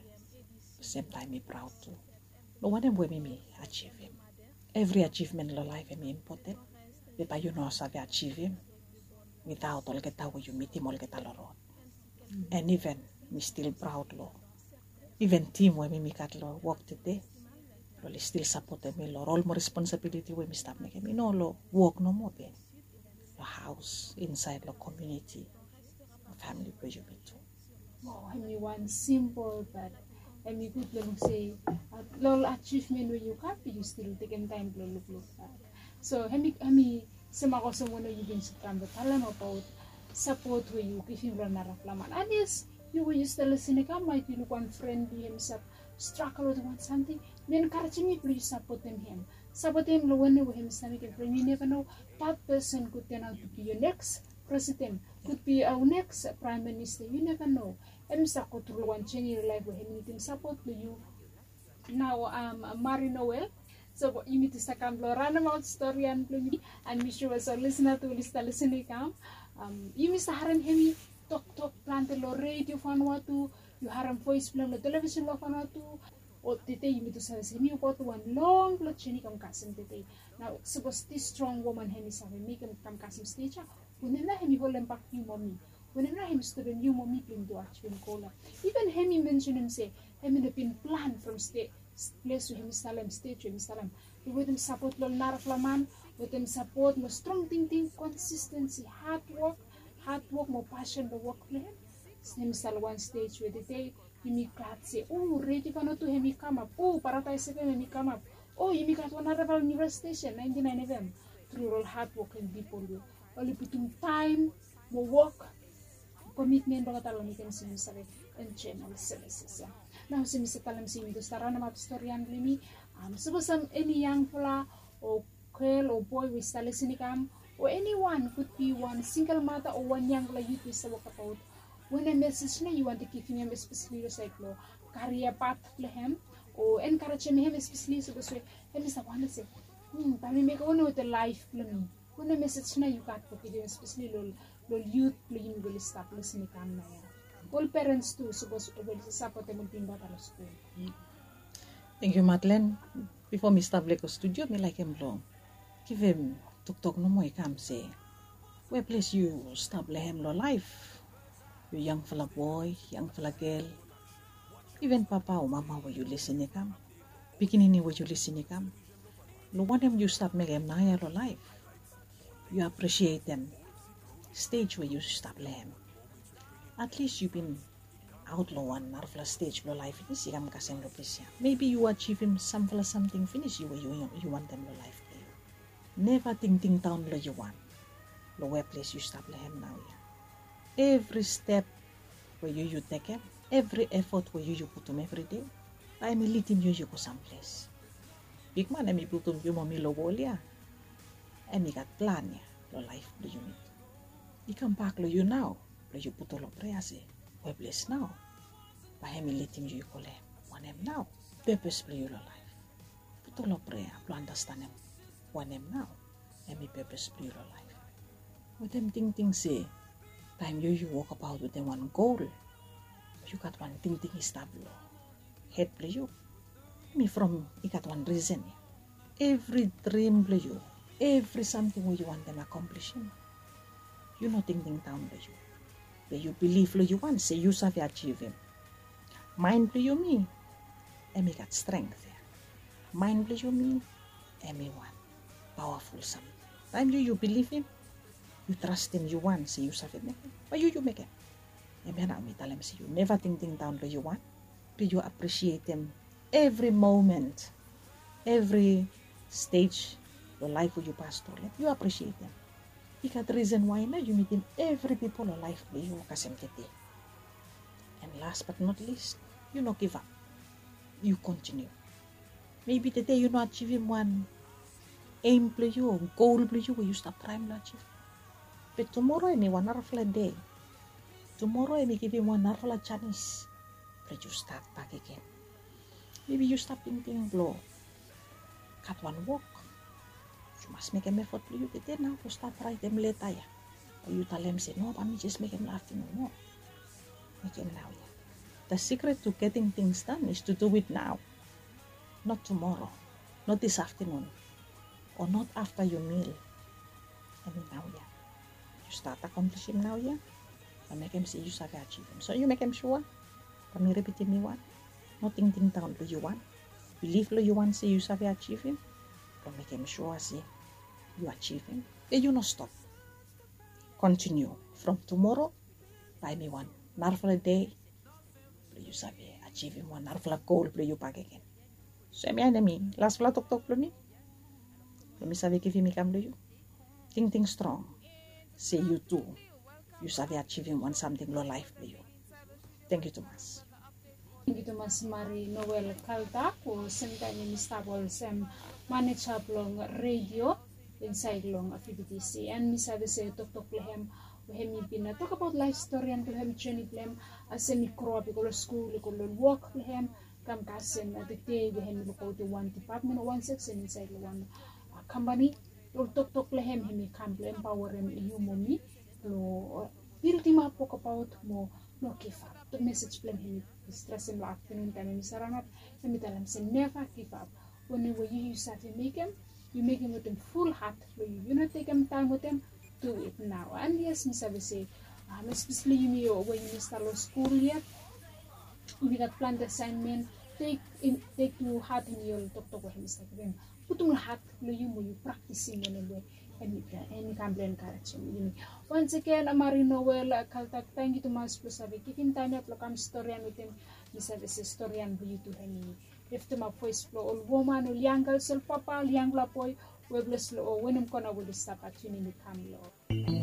semtaem mi praod tu long wanem we mi mi ajivim. Evri ajivmen long laef em i impoten, be bae yu no save ajivim witaot olgeta we yu mitim olgeta long rod. An iven mi stil praod long iven tim we mi mi gat long wok tede, blong oli stil sapotem mi long ol mo responsabiliti we mi stap mekem, i no long wok nomo be long haos, insaed long komuniti, long famili blong yumi tu. Wow, em i wan simpol bat em i gud long luk se long ol ajivmen we yu gat be yu stil tekem taem blong lukluk. So em i, em i semak olsem wanem yu bin save kam blong talem abaot sapot we yu givim long narafala man. An yes, yu we yu stap lisin i kam, maet yu luk wan fren blong yu hem i stap stragol wetem wan samting, mi enkarejem yu blong yu sapotem hem. Sapotem long wanem we hem i stap mekem, from yu neva no, that person could turn out to be your next president, could be our next prime minister, yu neva no. Hem i stap go tru long wan jeni long laef we hem i nidim sapot blong yu. Nao Mari Noel, so yumi tu save kam blong ranemaot stori blong yumi, an mi sua se ol lisina tu oli stap lisin i kam. Yumi save harem hem i toktok plante long redio Vanuatu, yu harem voes blong hem long televisen blong Vanuatu. O tede yumi tu save se hem i wokabaot wan longfala jeni kam kasem tede. Nao sapos this strong woman hem i save mekem kam kasem stej ya, wanem nao hem i holembak yu mo mi? Wanem nao hem i stopem yu mo mi blong yumi tu ajivim gol ya? Iven hem i mensenem se hem i no bin plan from stej, ples we hem i salem, stej we hem i salem. Be wetem sapot blong ol narafala man, wetem sapot mo strong tingting, konsistensi, hadwok, hadwok mo pasen long wok blong hem, hem i stap long wan stej we tede yumi glad se o, redio Vanuatu hem i kamap, o, Paradaes F M hem i kamap, o, yumi gat wan narafala niu stesen, naenti naen F M. Tru ol hadwoking pipol we oli putum taem mo wok, komitmen blong olgeta long mekem se yumi save enjoem ol sevises ya. Nao olsem mi save talem se yumi tu save ranemaot stori blong yumi. Sapos sam eni yangfala o gel o boe we i stap lisin i kam, o eniwan, could be wan singel mata o wan yangfala yut we i stap wokabaot, wanem mesej nao yu wantem givim hem, espeseli long saed blong karia pat blong hem, o enkarejem hem, espeseli sapos we hem i stap wondem se, bae mi mekem wanem wetem laef blong mi? Wanem mesej nao yu gat blong givim, espeseli long ol yut blong yumi we oli stap lisin i kam naoia? Ol perens tu sapos oli sapotem ol bigman long skul. Tangkiu Madlin. Bifo mi stap lego studio, mi laekem blong givim Toktok nomo i kam se, we ples yu stap long hem long laef? Yu yangfala boe, yangfala gel, iven papa o mama we yu lisin i kam, pikinini we yu lisin i kam, long wanem yu stap mekem naoia long laef? Yu apresietem stej we yu stap long hem. Atlis yu bin aot long wan narafala stej blong laef finis, i kam kasem long ples ya. Mebi yu ajivim samfala samting finis yu we yu wantem long laef blong yu. Neva tingting daon long yu wan, long we ples yu stap long hem naoia. Evri step we yu yu tekem, evri efot we yu yu putum evri dei, bae hem i lidim yu yu go samples. Bigman hem i putum yu mo mi long wol ya, hem i gat plan ya long laef blong yumi. I kambak long yu nao blong yu putum long prea se, we ples nao bae hem i lidim yu i go long hem. Wanem nao pepes blong yu long laef? Putum long prea blong andastanem wanem nao hem i pepes blong yu long laef. Wetem tingting se taem yu yu wokabaot wetem wan gol, yu gat wan tingting i stap long hed blong yu. Hem i from i gat wan risen ya. Evri drim blong yu, evri samting we yu wantem akomplisim, yu no tingting daon long yu, be yu bilif long yu wan se yu save ajivim. Maen blong yumi hem i gat strength ya. Maen blong yumi hem i wan pawaful samting. Taem yu yu bilifim, yu trastem yu wan se yu save mekem, bae yu yu mekem. Hemia nao mi talem se yu neva tingting daon long yu wan, be yu apresietem evri momen, evri stej long laef we yu pas tru long hem, yu apresietem. I gat risen wae nao yu mitim evri pipol long laef blong yu kasem tede. And last but not least, yu no givap. Yu kontiniu. Mebi tede yu no ajivim wan eim blong yu o gol blong yu we yu stap traem long ajivim. Be tumoro hem i wan narafala dei. Tumoro hem i givim wan narafala janis blong yu stat bakegen. Mebi yu stap tingting blong gat wan wok. Yu mas mekem efot blong yu tede nao blong stat raetem leta ya. O yu talem se, no, bae mi jes mekem long aftenun. No. Mekem naoia. The secret to getting things done is to do it now. Not tomorrow. Not this afternoon. Or not after your meal. Hem i naoia. Yu stat akomplisim naoia, bae mekem se yu save ajivim. So yu mekem sua, bae mi ripitim mi wan, no tingting daon long yu wan. Bilif long yu wan se yu save ajivim, bae mekem sua se yu ajivim. Be yu no stop. Kontiniu. From tumoro bae hem i wan narafala dei blong yu save ajivim wan narafala gol blong yu bakegen. So hemia nao hem i lasfala toktok blong mi, blong mi save givim i kam long yu. Tingting strong se yu tu yu save ajivim wan samting long laef blong yu. Tangkiu tumas. Tangkiu tumas Mari Noel Kaltak, we semtaem hem i stap olsem maneja blong redio insaed long V B T C. And mi save se toktok blong hem we hem i bin tokbaot laef storian blong hem, joni blong hem, as hem i groap i go long skul, i go long wok blong hem, kam kasem tede we hem i lukaotem wan dipatmen o wan seksen insaed long wan kampani. Ol toktok blong hem hem i kam blong empaoarem yu mo mi blong bildimap, wokbaot mo no givap. Mesej blong hem hem i stresem long aftenun taem hem i saranap, hem i talem se neva givap. Wanem we yu yu save mekem, yu mekem wetem ful hat blong yu. Yu no tekem taem wetem, du it nao. And yes, mi save se, espeseli yumi we yumi stap long skul yet, yumi gat plante asaenmen. Tek tu hat ini ol toktok we hem i stap givim. Putum long hat blong yu mo yu praktisim wanem we hem i kam blong enkarejem yumi. Once again, Mari Noel Kaltak, tangkiu tumas blong save givim taem ya blong kam storian wetem. Mi save se storian blong yu tu hem i liftimap voes blong ol woman, ol yang gels, ol papa, ol yangfala boe, we ples long ol wanem kona we oli stap atiunim i kam long